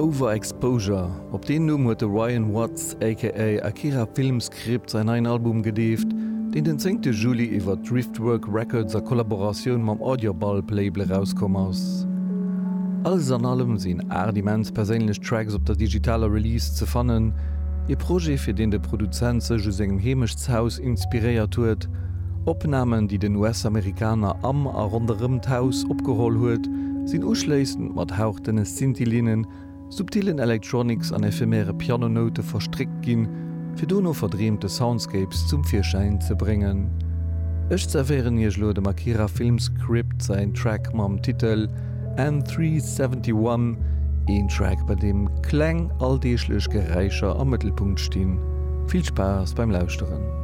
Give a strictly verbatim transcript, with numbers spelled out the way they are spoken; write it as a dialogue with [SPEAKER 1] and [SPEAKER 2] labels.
[SPEAKER 1] Overexposure, op deen Numm huet de Ryan Watts aka Akira Filmscript säin neien Album gedeeft, deen den zéngte Juli iwwer Driftwork Records a Kollaboratioun mam Audiobulb Label erauskomm ass. Alles an allem sinn aacht immens perséinlech Tracks op der digitaler Release ze fannen, ee Projet fir deen de Produzent sech u sengem Heemechtshaus inspiréiert huet. Opnamen, déi den U S-Amerikaner am a ronderëm d'Haus opgeholl huet, sinn uschléissend mat hauchdënne Synthi-Linnen, subtillen Electronics an ephemere Pianonoute verstréckt ginn, fir dono verdreemte Soundscapes zum Virschäin ze bréngen. Ech zerwéieren iech elo dem Akira Filmscript säin Track mam Titel N dräihonnerteinundsiwwenzeg, een Track, bei deem kleng alldeeglech Geräischer am Mëttelpunkt stinn. Vill Spaass beim Lauschteren.